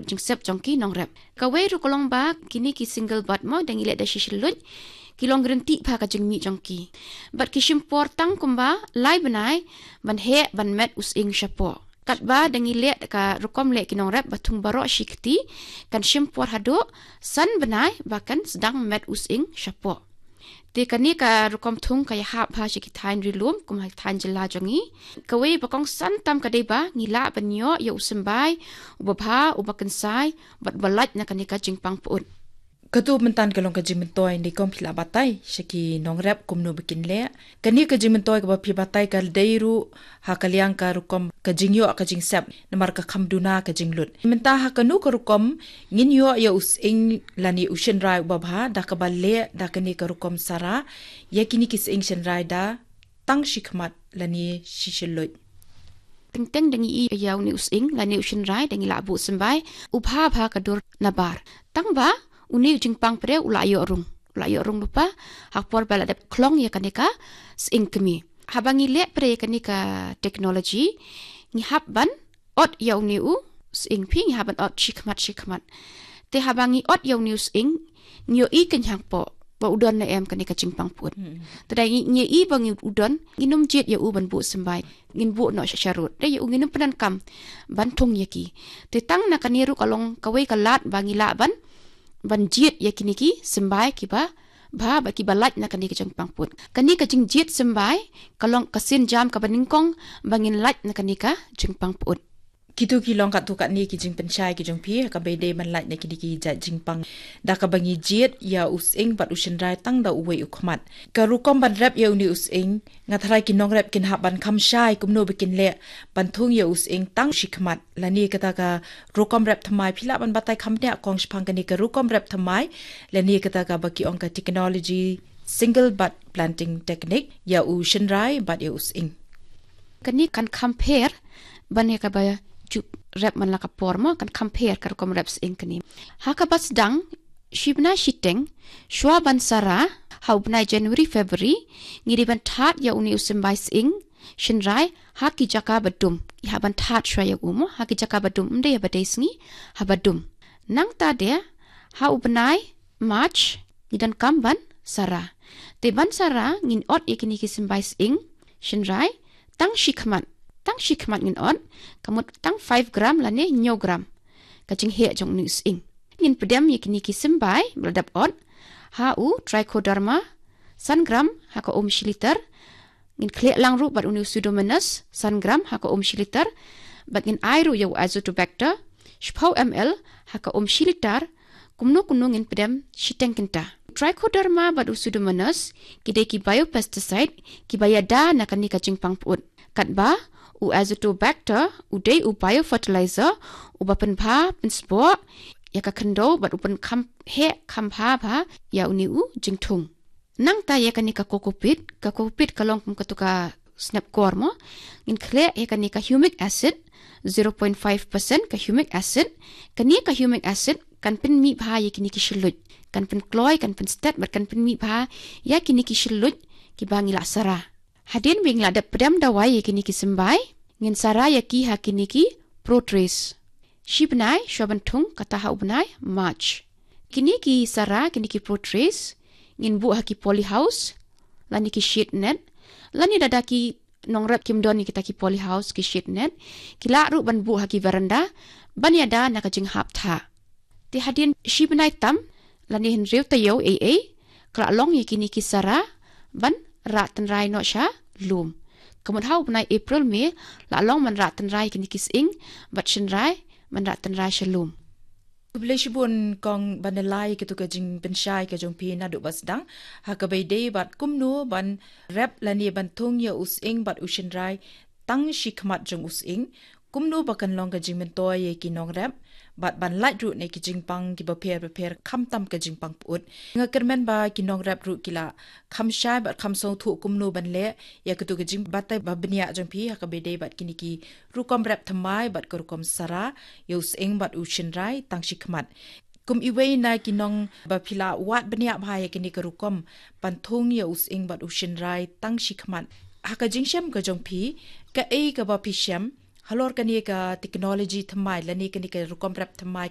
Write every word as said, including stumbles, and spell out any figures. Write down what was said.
jingsep jong ki nongrep. Kawei ruh ka long ba kine ki single bud mo, da ngi leh da shi shilluit, ki long ryntih bha ka jingmih jong ki. Bad ki shim por tang kumba lai bnai ban heh ban met u sying shapoh. Katba da ngi leh ka rukom leh ki nongrep ba thung baroh shi kti, kan shim por haduh san bnai ba kan sdang met u sying shapoh. Te kane ka rukom thung ka ïahap bha sha ki thaiñ ri lum kum ha ki thaiñ jylla jong ngi. Kawei ba kongsan tam ka dei ba ngi lah ban ïoh ïa u symbai uba bha, uba kynsai bad uba lait na kane ka jingpang pyut. Kato mynta ka long ka jingmyntoi, ne kong phi lah batai sha ki nongrep kumno ba kin leh. Kane ka jingmyntoi kaba phi batai ka dei ruh ha ka liang ka rukom ka jingïoh ka jingsep, namar ka kham duna ka jinglut. Mynta ha kano ka rukom ngin ïoh ïa u sying lane u shynrai uba bha, da kaba leh da kane ka rukom sara ïa kine ki sying shynrai da tang shi khmat lane shi shilluit? Teng teng da ngi ïoh ïa une u sying lane u shynrai, da ngi lah buh symbai u bha bha ka dur nabar. Tang ba une u jingpang pre u lah ïoh rung, u lah ïoh rung lypa ha por ba la dep khlong ïa kane ka sying kmie. Haba ngi leh pre ïa kane ka technology, ngi hap ban ot ïa une u sying, phi, ngi hap ban ot shi khmat shi khmat. Te haba ngi ot ïa une u sying, ngi ïohi kynhang poh ba u don ne em kane ka jingpang pyut. Te da ngi, ngi ïohi ba ngi u don, ngin ym jied ïa u ban buh symbai, ngin buh noh sha sharud. Te ïa u ngin ym pyndonkam ban thung ïa ki. Te tang na kane ruh ka long kawei ka lad ba ngi lah ban, ban jied ïa kine ki symbai kiba bha bad kiba lait na kane ka jingpang pyut. Kane ka jingjied symbai ka long ka sienjam kaba nyngkong ba ngin lait na kane ka jingpang pyut. Kito ki long katto katne ki jingpynshai ki jong phi ha kaba ïadei ban lait na kine ki jait jingpang, da kaba ngi jied ïa u sying bad u shynrai tang da uwei u khmat. Ka rukom ban rep ïa une u sying, nga tharai ki nongrep kin hap ban kham shai kumno ba kin leh ban thung ïa u sying tang shi khmat. Lane kata ka rukom rep thymmai, phi lah ban batai kham bniah kong shaphang kane ka rukom rep thymmai, lane kata kaba ki ong ka technology single bud planting technique ïa u shynrai bad ïa u sying? Kane kan kham pher ban ïa kaba ju rep man la ka por mo, kan kham pher ka rukom rep sying kane. Ha kaba sdang, shi bnai shiteng shuwa ban sara, ha u bnai January February, ngi dei ban thad ïa une u symbai sying shynrai ha ki jaka ba dum. Ngi hap ban thad shuwa ïa u mo ha ki jaka ba dum, ym dei ha ba dei sngi, ha ba dum. Nangta de ha u bnai March ngi donkam ban sara. Te ban sara ngin ot ïa kine ki symbai sying shynrai tang shi khmat. Tang shi khmat ngin ot, ka mut tang five gram lane hynñiew gram ka jingheh jong une u sying. Ngin pdem ïa kine ki symbai ba la dep ot ha u Trichoderma san gram ha ka um shi liter. Ngin khleh lang ruh bad une u Pseudomonas san gram ha ka um shi liter. Bad ngin ai ruh ïa u Azotobacter shiphew M L ha ka um shi liter. Kumno kumno ngin pdem shiteng kynta. Trichoderma bad u Pseudomonas ki dei ki biopesticide kiba ïada na kane ka jingpang pyut. Katba u Azotobacter u dei u biofertilizer uba pynbha pynspah ïa ka khyndew bad u pynkham heh kham bha bha ïa une u jingthung. Nangta ïa kane ka cocoa peat, ka cocoa peat ka long kum kato ka snep kor mo. Ngin khleh ïa kane ka humic acid, zero point five percent ka humic acid. Kane ka humic acid kan pynmih bha ïa kine ki shilluit, kan pynkloi, kan pynstet bad kan pynmih bha ïa kine ki shilluit kiba ngi la sara. Hadien ba ngi la dep pdem dawai ïa kine ki symbai, ngin sara ïa ki ha kine ki pro trays. Shi bnai shuwa ban thung, kata ha u bnai March. Kine ki sara, kine ki pro trays ngin buh ha ki polyhouse lane ki shade net. Lane lada ki nongrep kim don ïa kita ki polyhouse, ki shade net, ki lah ruh ban buh ha ki veranda ban ïada na ka jinghap thah. Te hadien shi bnai tam lane hynriew taïew ei ei, ka la long ïa kine ki sara ban rah tynrai noh sha lum. Ka mut ha u bnai April May la long ban rah tynrai kine ki sying bad shynrai ban rah tynrai sha lum. Khublei shibun kong Banalai, kito ka jingpynshai ka jong phi naduh ba sdang ha kaba ïadei bad kumno ban rep lane ban thung ïa u sying bad u shynrai tang shi khmat jong u sying, kumno ba kan long ka jingmyntoi ïa ki nongrep bad ban lait ruh na ki jingpang kiba pher bapher, khamtam ka jingpang pyut. Nga kyrmen ba ki nongrep ruh ki la kham shai bad kham sngewthuh kumno ban leh ïa kito ka jingbatai ba bniah jong phi ha kaba ïadei bad kine ki rukom rep thymmai bad ka rukom sara ïa u sying bad u shynrai tang shi khmat. Kum iwei na ki nong ba phi la wad bniah bha ïa kine ka rukom ban thung ïa u sying bad u shynrai tang shi khmat, ha ka jingshem ka jong phi, kaei kaba phi shem halor kane ka technology thymmai lane kane ka rukom rep thymmai